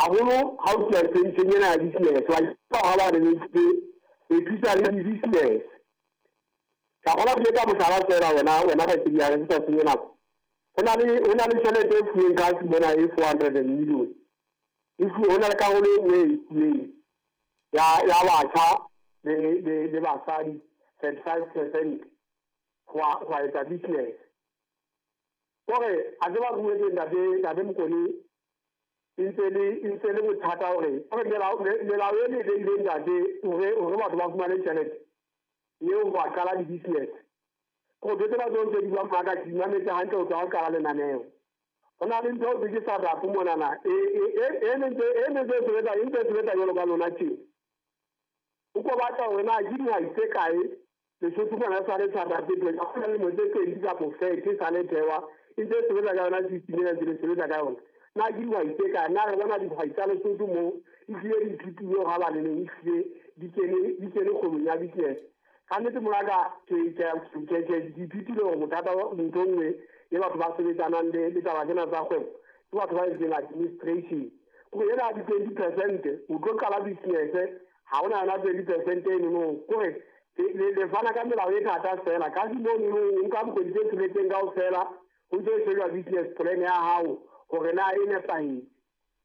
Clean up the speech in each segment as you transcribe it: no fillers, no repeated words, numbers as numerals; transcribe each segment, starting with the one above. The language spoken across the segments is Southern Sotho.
Haholo ha o tluwa nthong ena ya business, wa ha ba re e thusa le di-business. Ka kgona ho etsa mohlala fela wena kgaitsedi ya ka, ke sa senye nako. Ho na le tjhelete e fuweng ka mona e 400 million. E fuwe ho na le karolo e nngwe e fuweng ya batjha le basadi 35% ho etsa business. Kore a tseba re buetse ntate Mokone e ntse le bothata hore melao e le beileng ntate hore batho ba fumane tjhelete eo ba qala di-business. Ko ntho tsena tseo tse di buang maka ke di mametse hantle ho tloha ho qala lenaneo. Ho na le ntho eo ke sa rapo monana e ntse sebetsa e ntse sebetsa jwalo ka lona tje. O ko batla hore na ke dihwai tse kae Lesotho mona sa le thata tse pedi, ha hona lemo tse pedi kapa 30 sa le thewa e ntse sebetsa ka yona system ena ntse le sebetsa ka yona. Na ke dihwai tse kae? Na re bona dihwai tsa Lesotho mo ehlile di ithutile ha ba le neng ehlile di kene kgwebong ya business. Ka nnete monaka ke ithutile hore bothata ntho e nngwe e batho ba sebetsanang le taba tsena tsa kgwebo ke batho ba entseng administration. Kore ena di 20% o tlo qala business ha hona yona 20% eno kore le fana ka melao e thata fela ka mono o nka dikgwedi tse tsheletseng kaofela ho ntse shejwa business plan ya hao hore na e nepahetse.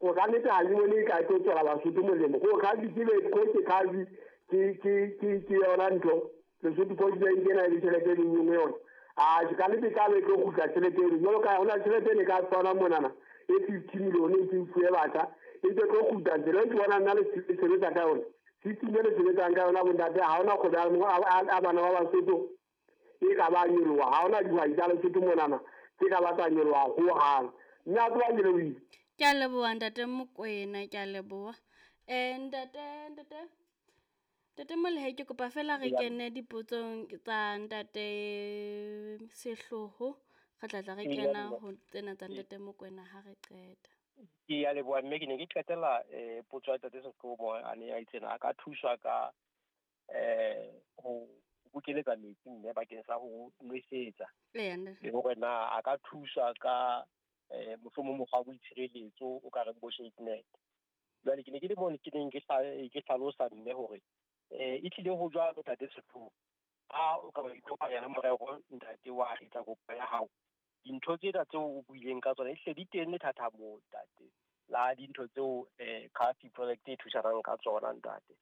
O ka nnete ha ke bone e ka tlo tswela Basotho molemo. Ko khazi ke be ko ke khazi ke yona ntho Lesotho Post Bank ena e tjhelete e leng yona. A ke ka nnete ka be tlo kgutla tjhelete eno jwalo ka hona tjhelete e ka tshwana monana e 50 million e ke fuwe batjha e ntse tlo kgutla tsela e ke bona nna le sebetsa ka yona. System e le sebetsang ka yona bontate ha hona kgwebo a bana ba Basotho e ka ba nyoloha, ha hona dihwai tsa Lesotho monana tse ka ba tsa nyoloha hohang. Mme a tseba ke lebohile. Ke a leboha ntate Mokoena, ke a leboha. Ntate Molehe, ke kopa fela re kene dipotsong tsa ntate Sehloho. Re tla re kena ho tsena tsa ntate Mokoena ha re qeta. Ke a leboha mme ke ne ke qetela potso ya ntate Sehloho a ne a itsena a ka thuswa ka ho bokeletsa metsi mme bakeng sa ho nwesetsa. Le hore na a ka thuswa ka mohlomong mokgwa wa boitshireletso o ka reng bo shade net. Jwale ke ne ke le mone ke neng ke hlalosa mme hore e tlile ho jwalo ntate Sehloho ha o ka ba ikopanya le morero ntate wa etsa kopo ya hao. Dintho tsena tseo o buileng ka tsona ehlile di teng lethathamo ntate la dintho tseo CAFI project e thusanang ka tsona ntate.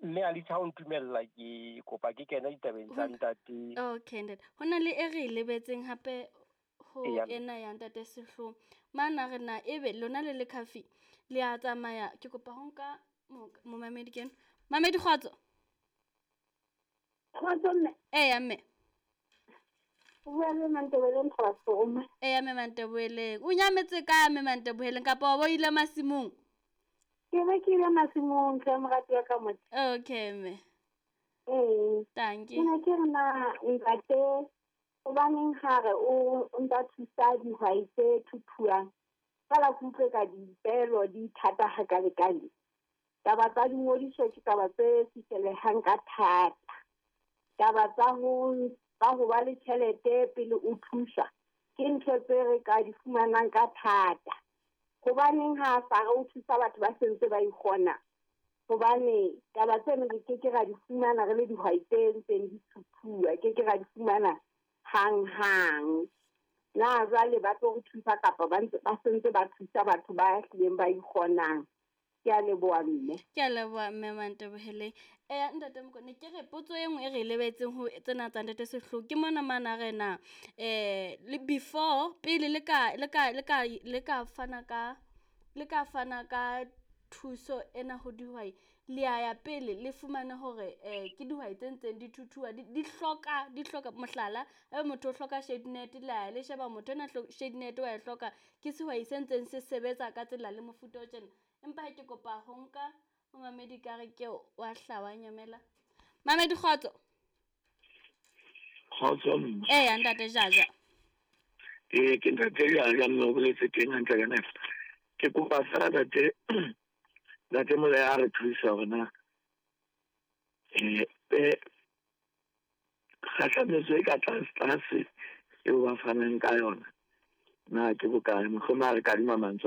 Mme a litha o ntumella ke kopa ke kena ditabeng tsa ntate. Okay ntate. Ho na le e re lebetseng hape ho ena ya ntate Sehloho. Mana re na ebe lona le le CAFI le a tsamaya ke kopa ho nka momamedi kena. Mamedi kgotso. Kgotso mme. Eya mme. O bua le Manteboheleng Kgotso. Eya mme Manteboheleng. O nyametse kae mme Manteboheleng kapa o ile masimong? Ke be ke ile masimong tle morati wa ka motho. Okay mme. Thank you. Ke ne ke re na ntate hobaneng ha re o ntsa thusa dihwai tse thuthuang. Fela ke utlwe ka dipelo di thata hakalekale. Taba tsa dingodiso ke taba tse fihlelehang ka thata. Taba tsa ho ba le tjhelete pele o thusa ke ntho tse re ka di fumanang ka thata. Hobaneng ha sa re o thusa batho ba sentse ba ikgona? Hobane taba tseno re ke ke ra di fumana re le dihwai tse ntseng di thuthuwa, ke ke ra di fumana hang-hang. Na jwale ba tlo re thusa kapa ba sentse ba thusa batho ba hlileng ba ikgonang? Ke a leboha mme. Ke a leboha mme Manteboheleng. Ntate Mokone ke re potso e nngwe e re lebetseng ho tsena tsa ntate Sehloho ke mona mana re na le before pele le ka fana ka thuso ena ho dihwai le ya ya pele le fumane hore ke dihwai tse ntseng di thuthuwa di hloka mohlala ebe motho o hloka shade net le ya le sheba motho ena shade net wa e hloka ke sehwai se ntseng se sebetsa ka tsela le mofuta o tjena. Empa ha ke kopa ho nka momamedi ka re ke wa hlawa nyamela. Mamedi kgotso. Kgotso mme. Eya ntate Jaja. Ke ntate Jaja mme o boletse teng hantle ka nepo. Ke kopa fela ntate Molehe a re thusa hore na kgahlametso e ka tlase eo ba fanang ka yona na ke bokae, mohlomong a re kadima mantswe a